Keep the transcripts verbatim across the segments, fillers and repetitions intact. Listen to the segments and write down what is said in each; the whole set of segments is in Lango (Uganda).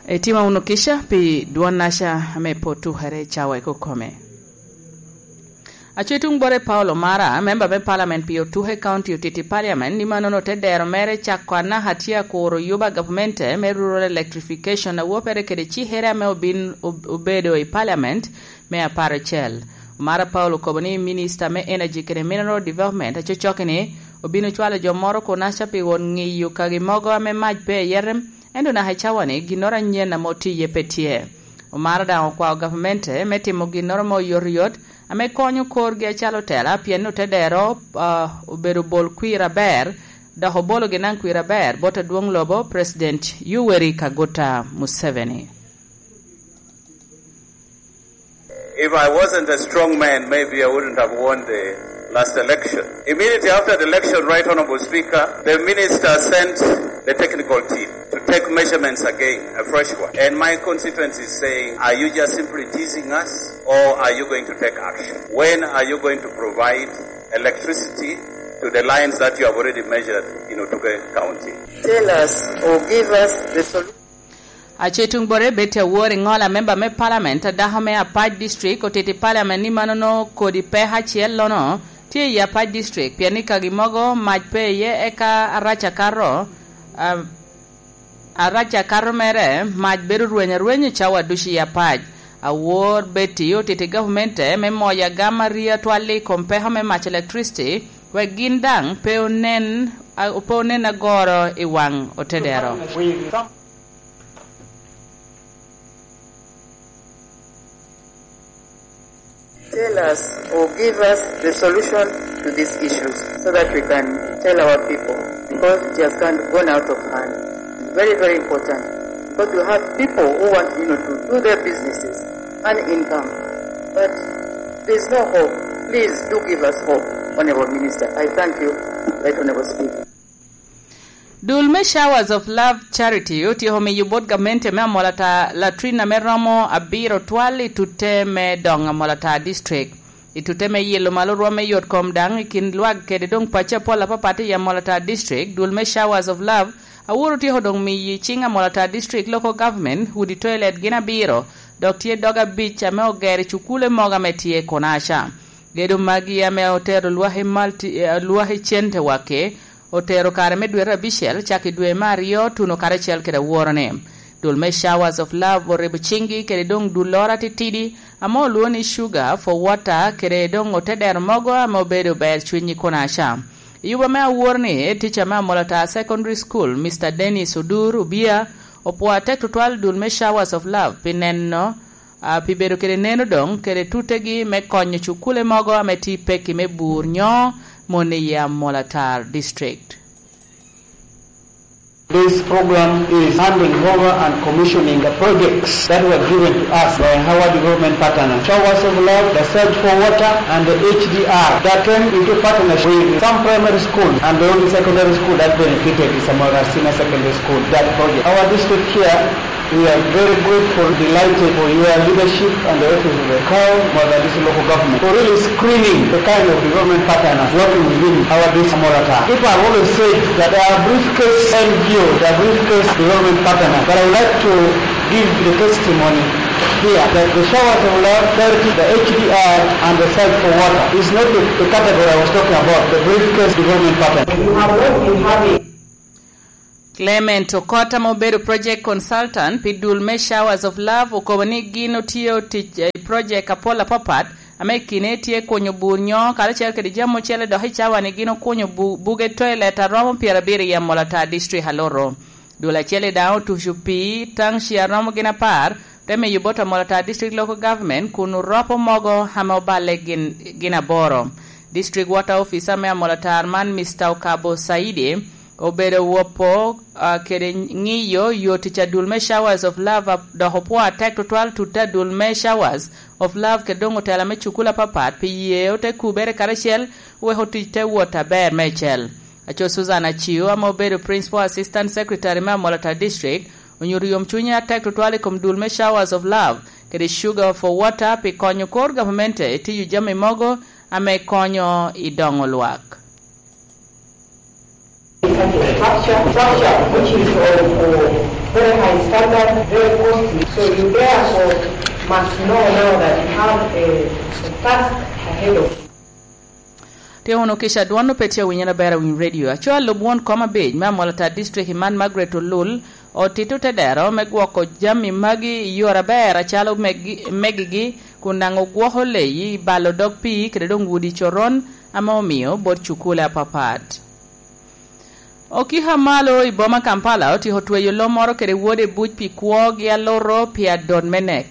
Itimo wunu kica pi dwon-naca ame pe otukere i cawa i kokome. Aco i tuŋ bore Paul Omara, memba me palamen pi Otuke County Otiti Parliament, ni mannono te dero mere cako anaka tye akuro yuba gavmente me Rural Electrification a wopere kede cikere ame obin ob-, obedo i Parliament me apar acel. Omara Paul okobo ni Minista me Energy kede Mineral Development acocokki-ni obino cwalo jo moro kunaca pi wot ŋiyo kagi mogo ame mac pe iye rem, ento naka i cawa-ni ginnoro anyen ame otiye pe tye. Omara daŋ okwao gavamente me timo ginnoro mo oyotoyot ame konyo korgi acalo otela, pien otedero, ah, obedo bol kwir aber, dok obologi naŋ kwir aber bot adwoŋ lobo, President Yoweri Kaguta Museveni. If I wasn't a strong man, maybe I wouldn't have won the last election. Immediately after the election, Right Honorable Speaker, the minister sent the technical team to take measurements again, a fresh one. And my constituents is saying, "Are you just simply teasing us, or are you going to take action? When are you going to provide electricity to the lines that you have already measured in Otuke County?" Tell us or give us the solution. Aco i tuŋ bore, Betty Awori Ŋola, memba me palamen a dako me Apac District, otito i palamen ni mannono kodi peko acel-lono tye i Apac District, pien i kagi mogo mac pe iye, eka arac akato, a, arac akato mere mac bedo rweny arweny i cawa ducu i Apac. Awor Betty otito i gavamente me moyo agam arii atwal i kom peko me mac electricity, wek gin daŋ pe onen, a, pe onen agoro i waŋ otedero. Tell us or give us the solution to these issues so that we can tell our people, because it has gone, gone out of hand. It's very, very important because we have people who want, you know, to do their businesses, earn income, but there's no hope. Please do give us hope, Honorable Minister. I thank you, Right Honorable Speaker. Dul me Showers of Love Charity otyeko miyo bot gamente me Amolatar latrine ame romo abiro twal i tutte me doŋ Amolatar District. I tutte me yilo malo rwom me yot kom daŋ i kin lwak kede doŋ pacci apol apapat i Amolatar District, dul me Showers of Love aworo otyeko doŋ miyo i ciŋ Amolatar District Local Government udi toilet gin abiro, dok tye dog abic ame ogero i cukule mogo ame tye kunaca. Gedo magi ame otero lwak i Malti-, eh, lwak i Cente Wake, otero kare me dwete abicel, cak i dwe me aryo, tuno karacel kede aworone. Dul me Showers of Love oribo ciŋgi kede doŋ dulloro atitidi, ame olwoŋo ni Sugar for Water, kede doŋ otedero mogo ame obedo ber cwiny i kunaca. I yuba me awor-ni, tica me Amolatar Secondary School, Mister Dennis Odur Obia, opwoo atek tutwal dul me Showers of Love pi neno a, pi bedo kede neno doŋ kede tuttegi me konyo cukule mogo ame tye pekki me bur nyo mon i Amolatar District. This program is handing over and commissioning the projects that were given to us by our development partners. Showers of Love, the Search for Water, and the H D R that came into partnership with some primary schools, and the only secondary school that benefited is Amolatar Senior Secondary School, that project. Our district here We are very grateful, delighted for your leadership and the office of the CAO, Mogadishu local government, for really screening the kind of development partners working within our district, Amolatar. People have always said that they are briefcase N G O, they are briefcase development partners, but I would like to give the testimony here that the Showers of Love, Charity, the H D R, and the Search for Water is not the, the category I was talking about, the briefcase development partner. You have not been having Clement Okot, ame obedo project consultant pi dul me Showers of Love, okobo ni gin otio tic i project apol apapat, ame i kine tye kunyo bur nyo, karacel kede jami ocele, dok i cawa-ni gin okunyo bu-, buge toilet a romo pyerabiro i Amolatar District Aloro. Dul acel-li daŋ otuco pii taŋci a romo gin apar, te miyo bot Amolatar District Local Government kun oropo mogo ame oballe gin, gin aboro. District Water Officer me Amolatar man, Mister Okabo Saidi, obedo wopo, ah, kede ŋiyo yo tic adul me Showers of Love, ah, dok opwoo atek tutwal tutte adul me Showers of Love kede doŋ otela me cukul apapat pi ye ote kubere karacel wek otic te wot aber meicel. Aco Susan Aciu, ame obedo Principal Assistant Secretary me Amolatar District, onyuto yomcunye atek tutwal i kom dul me Showers of Love kede Sugar for Water pi konyo kor gavamente i tiyo jami mogo ame konyo i doŋo lwak. Structure, structure which is of, uh, Very high standard, very costly. So you therefore must know now that you have a, a task ahead of you. Tye wunu kica dwon opetye awinyere aber awiny redio. Aco alub won kom abic me Amolata District i man Margaret Olul otito te dero me gwoko jami magi i yore aber acalo megi, megigi, kun daŋ ogwoko leyi, balo dog pii, kede doŋ udi coron ame omio bot cukule apapat. Okiko a malo i boma Kampala otyeko tweyo lo moro kede wode buc pi kwogi aluro pi adot me nek.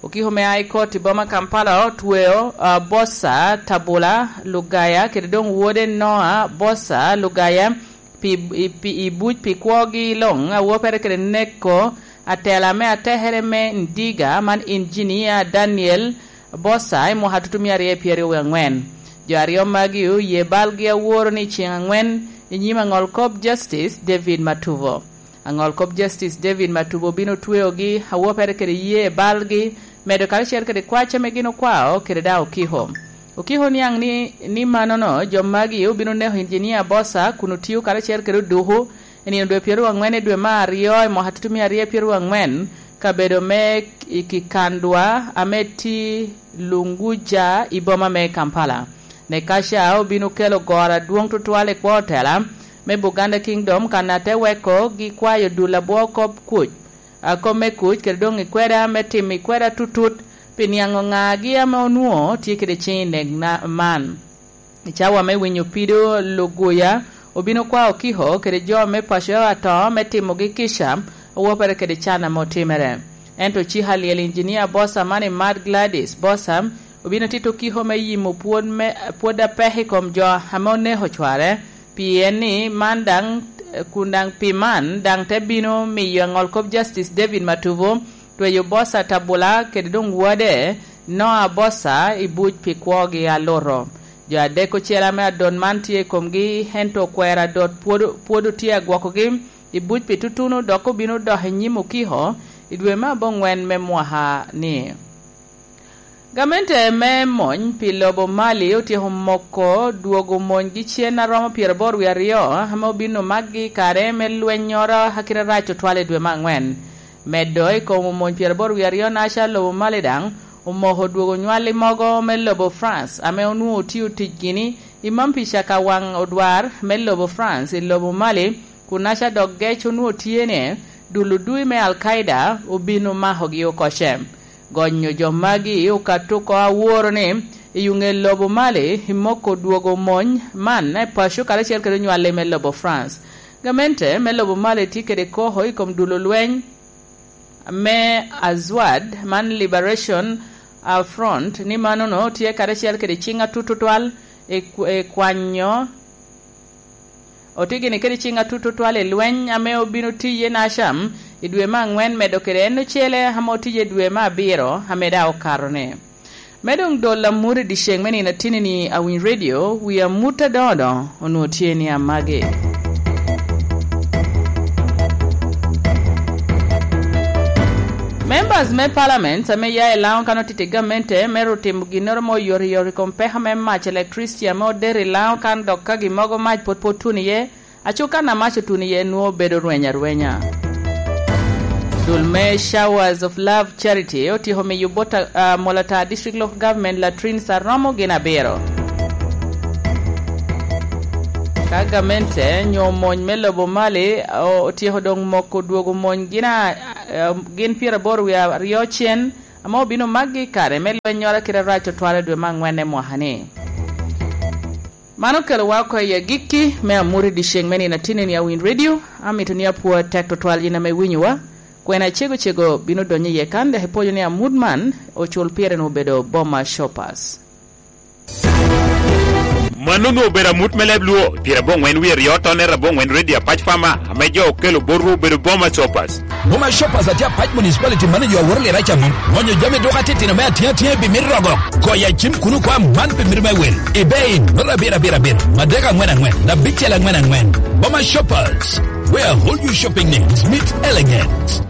Okiko me High Court i boma Kampala otweo, ah, Bosa Tabula Lugaya kede doŋ wode Noah Bosa Lugaya pi, i, pi, i buc pi kwogi luŋ, awoppere kede neko atela me atekere me Ndiga man Engineer Daniel Bosa i mwaka tutumia aryo pyeraryo wie aŋwen. Jo aryo magi oye balgi aworo ni ceŋ aŋwen i nyim aŋol kop Justice David Matubo. Aŋol kop Justice David Matubo obino tweogi awoppere kede ye balgi, medo karacel kede kwac ame gin okwao kede daŋ okiko. Okiko niaŋ ni, ni manono jo magi obino neko Engineer Bosa kun otio karacel kede oduku i nino dwe pyeraryo aŋwen i dwe me aryo i mwaka tutumia aryo pyeraryo aŋwen, kabedo me i Kikandwa ame tye Lunguja i boma me Kampala. Nekaca obino kelo goro adwoŋ tutwal i kwo otela me Buganda Kingdom kan ate weko gi kwayo dul abwo kop kuc, a, kop me kuc kede doŋ i kweda me timo i kweda tutut pi niaŋo ŋagi ame onwoŋo tye kede ceŋ i nek na-, man. I cawa me winyo pido luguya, obino kwao okiko kede jo me paco ato me timogi kica, owoppere kede can ame otimere. Ento cik alyel Engineer Bosa man i Mad Gladys Bosa obino tito okiko me yimo pwod me, pwod apek i kom jo ame oneko cware, pien ni man daŋ, kun daŋ pi man daŋ te bino miyo aŋol kop Justice David Matubo tweyo Bosa Tabula kede doŋ wode Noah Bosa i buc pi kwogi aluto. Jo adek ocel ame adot man tye i komgi, ento okwero adot pwod, pwod otye agwokogi i buc pi tutuno, dok obino dok i nyim okiko i dwe me aboŋwen me mwaka-ni. Gamente me mony pi lobo Mali otyeko moko dwogo monygi cen a romo pyeraboro wie aryo ame obino makgi i kare me lwennyoro a kite rac otwal i dwe me aŋwen. Medo i kom omony pyeraboro wie aryo naca, lobo Mali daŋ omoko dwogo nywalli mogo me lobo France ame onwoŋo otio tic gini i Mampica ka waŋ odwar me lobo France i lobo Mali, kun naca dok gec onwoŋo tye ni dul odui me Al-Qaida obino makogi oko ce. Gonyo jo magi okato oko aworo ni i ŋe lobo Mali i moko dwogo mony man i paco karacel kede onywalli me lobo France. Gamente me lobo Mali tye kede koko i kom dul olweny me Azwad man Liberation, ah, Front, ni manono tye karacel kede ciŋ atut tutwal i kw-, i kwanyo, otye gini kede ciŋ atut tutwal i lweny ame obino tiye Nasham i dwe me aŋwen, medo kede en ocele ame otiye i dwe me abiro ame daŋ okato-ni. Me doŋ dol amut i dyeceŋ me nino atinni-ni, Awiny Radio, wi amut adoŋo doŋo onwoŋo tye ni amagi. Members me Parliament ame ya i Laŋo kan otito i gamente me ru timo ginnoro mo oyotoyot i kom peko me mac electricity ame odero i Laŋo kan, dok ka gin mogo mac pwod pe otuno iye, aco kan a mac otuno iye nwoŋo bedo rweny arwenya. Dul me Showers of Love Charity otyeko miyo bot, ah, Molata District Local Government latrines a romo gin abiro. Ka gamente nyo mony me lobo Mali, o-, otyeko doŋ moko dwogo mony gin a, eh, gin pyeraboro wie aryo cen, ame obino makgi i kare me lwennyoro a kite arac otwal i dwe me aŋwen i mwaka-ni. Man okelowa oko i agikki me amut i dyeceŋ me nino atinni-ni, Awiny Radio. Amito ni apwoo atek tutwal yin ame iwinyowa. Kwena cego cego bino donyo iye kan, dok ipwonyo ni amut man ocul pire ni obedo Boma Shoppers. Mano onwoŋo obedo amut me leb Luo, pyerabongwen wie aryo tonner abongwen Radio Apac Farmer, ame jo okelo botwu obedo Boma Shoppers. Boma Shoppers atye Apac Municipality, mano jo aworo lira ca mom. Ŋonyo jami duka titino me atiŋ atiŋa i bimit rogo. Goyo acim kuno kwa man pi mito me wil. Ebay, noto abiro abiro abiro, madek aŋwen aŋwen, abicel aŋwen aŋwen. Boma Shoppers, where all your shopping needs meet elegance.